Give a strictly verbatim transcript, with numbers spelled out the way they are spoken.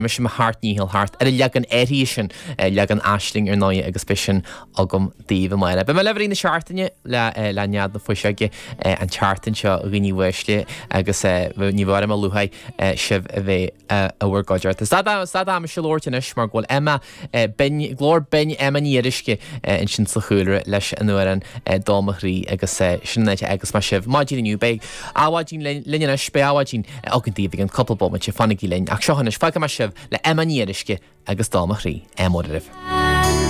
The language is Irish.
Mise mo sheacht ndícheall thart ar an leagan áirithe sin, leagan Aisling ar ndóigh agus beidh sin agam daoibh amárach. Beidh mé libh i rith na seachtaine le le Nead na Fuiseoige an tseachtain seo a dhaoine uaisle agus ní bheidh orm a lúcháir sibh a bheith i bhur gcuideachta. Stad stad ama seo labhairt anois mar go bhfuil Emma binn, glór binn Emma Ní Fhíoruisce ansin sa chúlra leis an amhrán Dó Mo Chroí agus sin an áit a fhágas mé sibh maidin inniu. Beidh Adhmhaidin linn anois, beidh Adhmhaidin againn daoibh i gceann cúpla bomaite, fanaigí linn. Ach seo anois, fágfaidh mé sibh le Emma Ní Fhíoruisce agus Dó Mo Chroí. Ádh mór oraibh.